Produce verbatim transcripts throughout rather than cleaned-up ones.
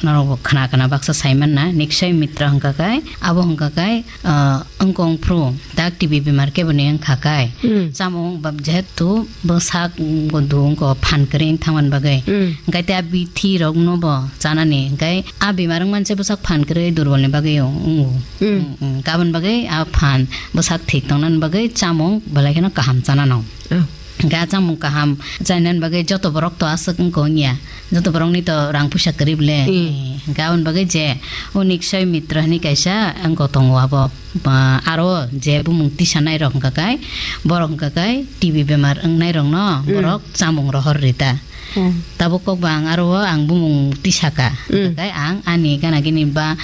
Norok bo khna khna baksa sai manna, niksai mitra hwnkha kai, abo hwnkha kai, ah, wngkong phru, dak T B bemar kebo ni wngkha kai. Hmm. Chamung ba-, jehetu bwsak wngkha, wngkha phan kwrwi wng thangmani bagwi. Hmm. Hwnkhe tei a bithi rok no bo chanani, hwnkhe a bemar wngmani se bwsak phan kwrwi durbol ni bagwi wngo. Hmm. Hmm, hmm. Gabon bagwi a phan bwsak thik tongnani bagwi chamung belai kheno kaham chanano. Oh. Hwnkhe a chamung kaham chainani bagwi joto borok to aswk wngkha wngya. Joto borokni to rang puisa kwrwi bole. Mm. Eh, hwnkhe aboni bagwi je unik soi mitra hinwi kaisa wngkha tongo abo. Ba, aro je bumung tisanai rok hwnkha kai, borok hwnkha kai T B bemar wngnai rokno Mm. borok chamung rohor rita. Mm. Tabuk kok ba ang aro o ang bumung tisaka. Mm. Hwnkha kai ang ani gana gini ba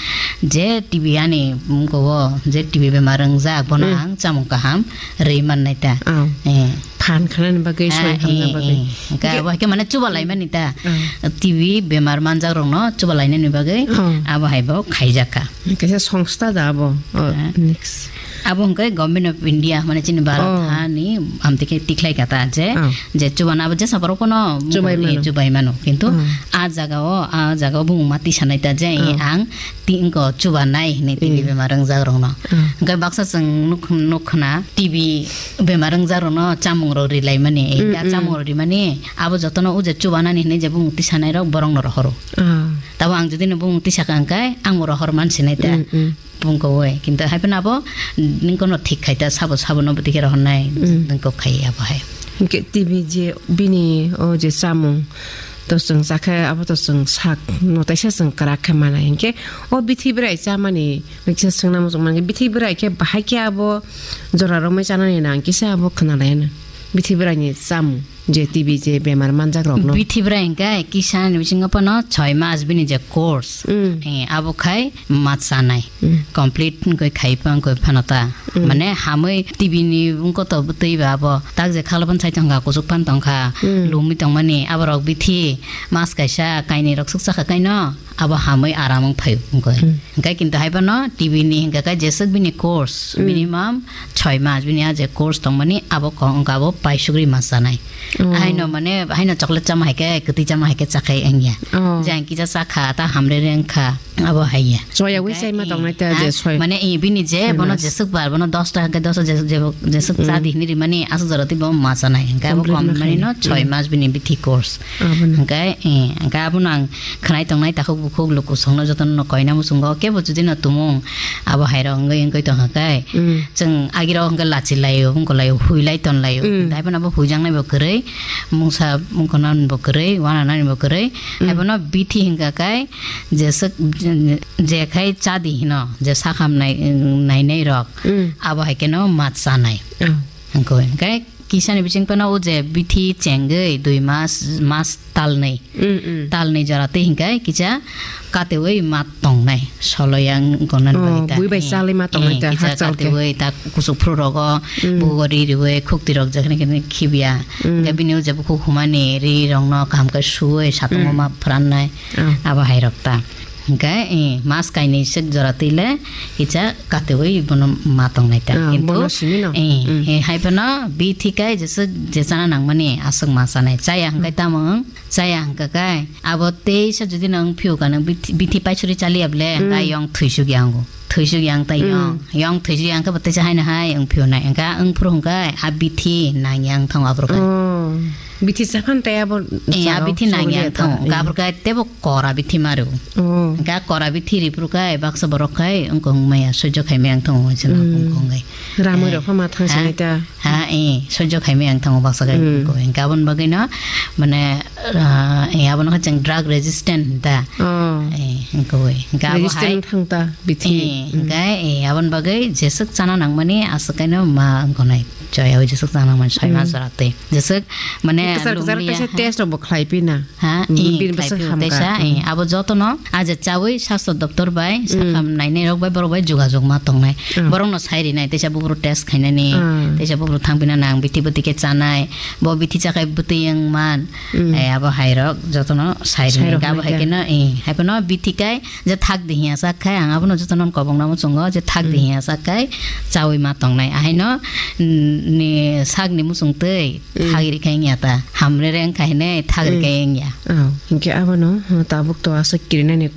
je T B ani wngkha o, je T B bemar wngjak bono Mm. ang chamung kaham rwi mannai ta. Oh. Eh. Phan khanani bagwi, Ah, soi hamna eh, bagwi. Eh. Hwnkhe Hwnkhe abo hai khe mane chuba laimani ta. Ah. T B bemar manjak rokno chuba lainani bagwi Oh. abo hai bo khaijak kha. Kaisa songstha da abo. Oh, Ah. next. Abo hwnkhe Government of India, mane chini Bharat Oh. hani amtwi khe tikhlai kha ta je, Oh. je chubana abo jesa borok no Chubai eh, mano. chubai mano. Kintu Oh. a jaga o, a jaga o bumung ma tisanai ta je Oh. ang ti wngkha chubanai hinwi T B Eh. bemar wngjak rokno. Oh. Hwnkhe baksa chwng nuk, nuk khna T B bemar wngjakrokno chamungrok rilaimani, Mm, ya mm. chamungrok rimani, abo jotono o je chubanani hinwi je bumung tisanai rok borokno rohoro. Ah. Tabo ang jodi no bumung tisaka hwnkhe, ang bo rohor man sinai ta. Mm, mm. Bungko we, kintu hai phano abo ningkono thik khai ta, sabo sabo no bwtwi khe rohornai, Mm. ningko khai abo hai. Hwnkhe T B je bini o je chamung to chwng chakhe, abo to chwng sak no taisa chwng kwrak khe manai. Hwnkhe o bithi bwrai chamani Noksa swngna muchung mankhe, bithi bwrai khe bahai khe abo jora romwi chanani nang kisa abo khwnalaiyano. Bithi bwraini chamung je T B je bemar manjak rokno. Bithi bwrai hwnkhe kisa ni bisingo phano choi mas bini je course. Mm. Eh, abo khai ma chanai. Mm. Complete wngkhe khai pa wngkhe phano ta. Mm. Mane hamwi T B ni wngkhe to bwtwi ba abo tak je khala phano sai tongkha, kuchuk phano tongkha, Mm. lumwi tongmani aborok bithi mas kaisa kainwi rok swk chakha kaino. Abo hamwi aram wng phaio wngkha. Hmm. Hwnkhe kintu hai phano T B ni hwnkha khe jeswk bini course, Hmm. minimum choi mas bini a je course tongmani abo kok wngkha abo paisugri mas chanai. Oh. Haino mane, haino chocolate chama hai khe, kwtwi chama hai khe chakhai wngya. Oh. Je ang kisa chakha, ta hamrere wngkha, abo haiya. Choya wi Hwnkhe chaima i, tongnai ta a, je soi. Mane i bini je, Soi bono mas. jeswk bar, bono dos ta hwnkhe dos je, je, jeswk Hmm. cha di hinwi rimani aswk jora twi bo ma chanai. Hwnkhe abo Complete kom no mani khaina. no choi Hmm. mas bini bithi course. Abono. Hwnkhe, eh, hwnkhe abono ang khwnai tongnai takhuk bukhuk luku songno jotono no koina muchungo kebo jodi no tumung abo hairok wngwi wngwi tongkha kai Mm. chwng agirok hwnkhe lachi laio, wngkha laio, huilai ton laio. Mm. Taiphano abo huijaknai bo kwrwi, mungsa wngkha nani bo kwrwi, wana nani bo kwrwi. Mm. Haiphano bithi hwnkha kai jeswk je khai chadi hino, je sakham nai, nainai rok Mm. abo hai kheno ma chanai. Oh. Hwnkhe, hwnkhe Kisani bising phano o je bithi chengwi dui mas, mas talnwi. Mm, mm. Talnwi jora twi hinkhe kisa katewi ma tongnai. Solo yang gonani Oh, bagwi ta. bui bai Eh, chalwi ma tongnai eh, ta, kisa hakchal khe. katewi ta kuchuk phuru rogo Mm. bugo ri riwi khukti rok jekhne khene khibya. Mm. Hinkhe bini o je bukhuk humani ri rokno kaham khe suwi satungo Mm. ma phrannai. Oh. Abo hai rok ta. Hwnkhe, eh, mas kainwi swk jora twi le kisa katewi bono ma tongnai ta. Ah, Kintu, bono simi no? eh, Mm. eh, hai phano bithi kai jeswk je chana nangmani aswk ma chanai. Chaya hwnkhe Mm. tamo wng? Chaya hwnkhe kai abo teisa jodi no wng phiyok ka nang bithi, bithi paisuri chaliya ble Mm. hwnkhe yong thwisuk yango. Thwisuk yang ta Mm. yong. Yong thwisuk yang khe bo teisa haino hai wng phiyonai. Hwnkhe wng phuru hwnkhe a bithi nang yang thang aphuru kai. Oh. Bithi chaphan tei abo Eh, a chao bithi nang songri yang ta. thang. Eh. Hwnkhe aphuru kai tebo kora bithi maru. Oh. Hwnkhe a kora bithi ripru kai baksa borok khai wngkha wngmaya soijo khaimaya wngthango hinwi sano Mm. wngkha wngwi. Ramwi Eh, rok pha ma thang ha, sinai ta. Ha, eh, soijo khaimaya wngthango baksa khai Mm. wngkha wngkha. Aboni bagwino mane, ah, eh, abono khe chwng drug resistant hinta. Oh. Eh, wngkha wngwi. Hwnkhe abo Resistant hai wngthang ta bithi. Eh, Mm. hwnkhe, eh, aboni bagwi jeswk chana nangmani aswk kaino ma wngkha nai. Chaya jeswk chana nangmani soi ma Mm. jora twi. Jeswk mane Kwchar kwchar lumliya kaisa ha. test rok bo khlai pina. Ha, Mm, i, bini bwswk khlai phio hamkha. teisa, i, Mm. abo jotono, a je chawi sastro doptor bai, Mm. sakham nainai rok bai, borok bai jogajog ma tongnai. Mm. Borokno sai rinai, teisa buburu test khainani, Mm. teisa buburu thangpina nang, bithi bwtwi khe chanai, bo bithi chakhai bwtwi wng man, Mm. eh, abo hai rok jotono sai Sai rinai. rok Abo hai nai khe no, i, hai phano bithi kai, je thak di hiya sak khai, ang abono jotono kobong namo chungo, je thak di Mm. hiya sak khai, chawi ma tongnai. Ahaino, mm, ni sak ni muchung twi, Mm. thagri khai wngya ta. Hamrere wngkha hinwi thagri Mm. khai wngya. Oh, hinkhe abono, oh, tabuk to aswk kirinani